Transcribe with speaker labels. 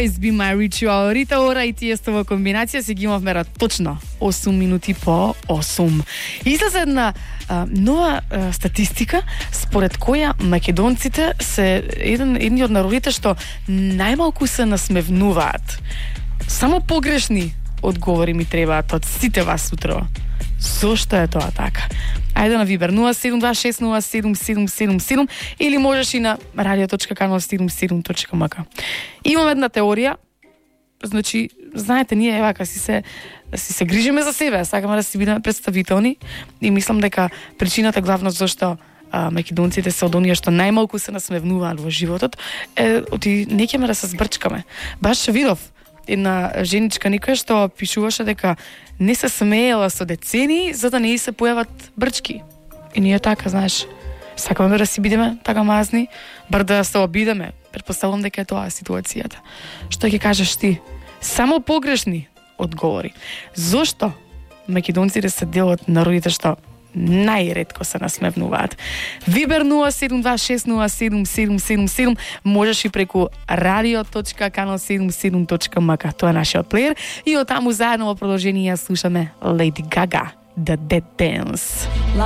Speaker 1: Always Be My Ritual. Рита Ора и Тиестова комбинација се ги имавме точно 8 минути по 8. Излезе една нова статистика според која македонците се едни од народите што најмалку се насмевнуваат. Само погрешни одговори ми требаат од сите вас утро. Зошто е тоа така? Ајде на Вибер 0726077777 или можеш и на radio.kanal77.mk. Имам една теорија. Значи, знаете, ние евака си се грижиме за себе, сакаме да си бидеме представителни и мислам дека причината главно зашто македонците се од оние што најмалку се насмевнуваат во животот е оти не ќеме да се збрчкаме. Баш видов една женичка некоја што пишуваше дека не се смеела со децени за да не се појават брчки. И ние така, знаеш, сакаме да си бидеме така мазни, бар да се обидеме. Претпоставувам дека е тоа ситуацијата. Што ќе кажеш ти? Само погрешни одговори. Зошто македонците се дел од народите што најретко се насмевнуваат? Вибер 0726077777, можеш и преку radio.kanal77.mk. Тоа е нашиот плеер и од таму заедно во продолжение ја слушаме Lady Gaga, The Dead Dance.